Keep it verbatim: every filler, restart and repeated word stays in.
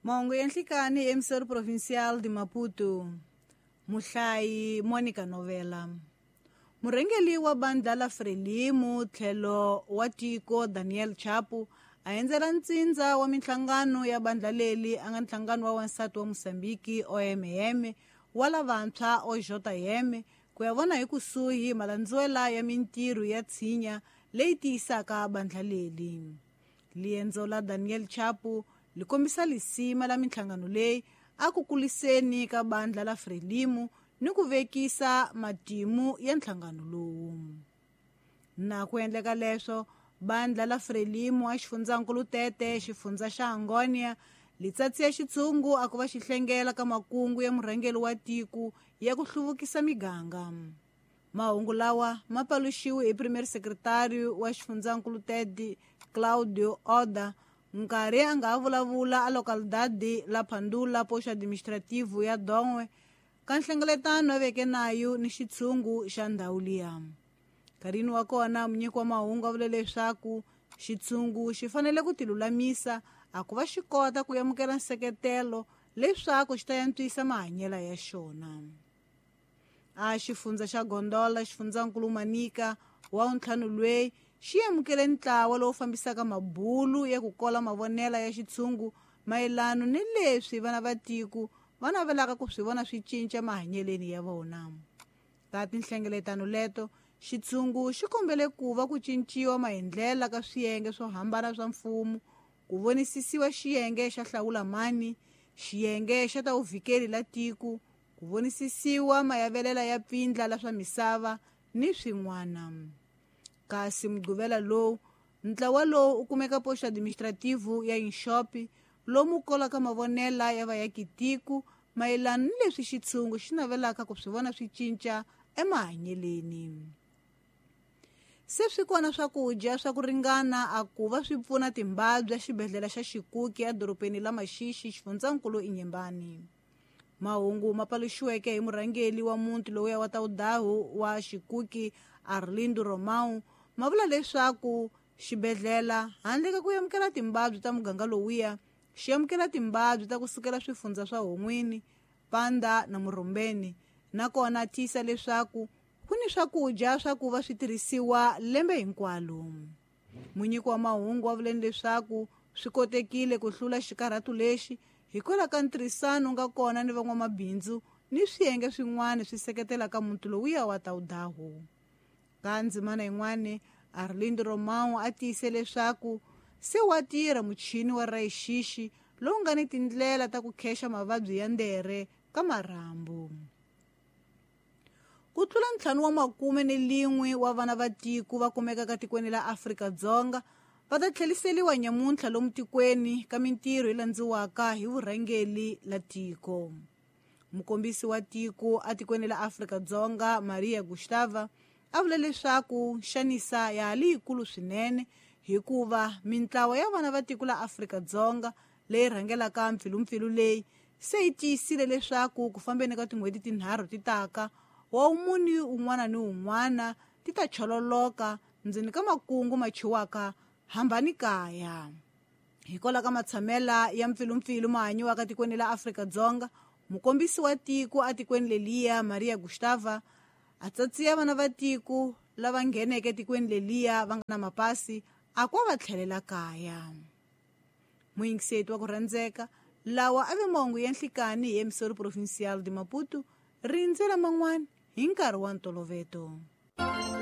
Mahungu ya nhlikani emissor provincial de Maputo. Muhlayi Monica Novela. Murhengeri wa bandla la Frelimo tlhelo wa tiko Daniel Chapo a endzela ntsindza wa minhlangano ya bandla leri a nga nhlangano wa wansati wa Mozambique O M M wa lavantshwa O J M ku ya vona hi kusuhi malandzuwela ya mintirho ya tshinya leyi tiyisaka bandla leri. Liendzo la Daniel Chapo li kombisa lisima la minhlangano leyi a ku kuliseni ka bandla la Frelimo ni ku vekisa matimu ya nhlangano lowu. Na ku endleka leswo bandla la Frelimo a xifundzankulu Tete xifundza xa Angonia li tsatsiya xitshungu a ku va xihlengela ka makungu ya murhangeri wa tiko ya ku hluvukisa miganga. Mahungu lawa ma paluxiwe hi premier secretary wa xifundzankulu Tete Claudio Oda nkarhi a nga vulavula a localidade la Pandula posto administrativo ya Dongwe ka nhlengeletano a veke nayo ni xitshungu xa ndhawu liya. Nkarhini wa kona munyiki wa mahungu a vule leswaku xitshungu xi fanele ku tilulamisa a ku va xi kota ku amukela nseketelo leswaku xi ta antswisa mahanyelo ya xona. A xifundza xa Gondola xifundzankulu Manica wa ntlhanu lweyi xi amukele ntlawa lowu fambisaka mabulu ya ku kola mavonela ya xitshungu mayelano ni leswi vana va tiko va navelaka ku swi vona swi cinca mahanyeleni ya vona. Ka tinhlengeletano leto xitshungu xi kombele ku va ku cinciwa maendlela ka swiyenge swo hambana swa mfumo ku vonisisiwa xiyenge xa hlawula mani, xiyenge xa ta vuvikeri la tiko, ku vonisisiwa mayavelela ya pfindla la swa misava ni swin'wana. Kasi mugqivela lowu ntlawa lowu u kumeka posto administrativo ya Inxopi lomu kolaka mavonela ya vayakitiko mayelana ni leswi xitshungu xi navelaka ku swi vona swi cinca emahanyeleni. Se swi kona swakudya swa ku ringana a ku va swi pfuna timbabya xibedhlele xa Xikuki edorobeni la Maxixi xifundzankulu Inyembani. Mahungu ma paluxiweke hi murhangeri wa muti lowuya wa Tawudahu wa Xikuki Arlindo Romão ma vula leswaku xibedhlele handle ka ku amukela timbabyi ta muganga lowuya xi amukela timbabyi ta ku sukela swifundza swa Hon'wini, Panda na Murumbeni, nakona tiyisa leswaku ku ni swakudya swa ku va swi tirhisiwa lembe hinkwalo. Munyiki wa mahungu wa vuleni leswaku swi kotekile ku hlula xikarhatu lexi hikwalaho ka ntirhisano nga kona ni van'wamabindzu ni swiyenge swin'wana swi seketelaka muti lowuya wa Tawudahu. Ka ndzimana yin'wana Arlindo Romão a tiyise leswaku se wa tirha muchini wa rayixixi lowu nga ni tindlela ta ku khexa mavabyi ya ndere ka marhambu. Ku tlula ntlhanu wa makume ni lin'we wa vana va tiko va kumekaka tikweni la Afrika-Dzonga va ta tlheliseriwa nyamuntlha lomu tikweni ka mintirho yi landziwaka hi vurhangeri la tiko. Mukombisi wa tiko atikweni la Afrika-Dzonga Maria Gustava a vule leswaku xanisa ya ha li yikulu swinene hikuva mintlawa ya vana va tiko la Afrika-Dzonga leyi rhangelaka mpfilumpfilu leyi se yi tiyisile leswaku ku fambeni ka tin'hweti tinharhu ti taka wa muni un'wana ni un'wana ti ta chololoka ndzeni ka makungu ma chiwaka hambani kaya. Hikwalaho ka matshamela ya mpfilumpfilu ma hanyiwaka tikweni la Afrika-Dzonga, mukombisi wa tiko atikweni leliya Maria Gustava a tsatsiya vana va tiko lava ngheneke tikweni leliya va nga na mapasi a ku va tlhelela kaya. Muyingiseti wa ku rhandzeka lawa a ve mahungu ya nhlikani hi emissor provincial de Maputo rindzela man'wana hi nkarhi wa ntoloveto.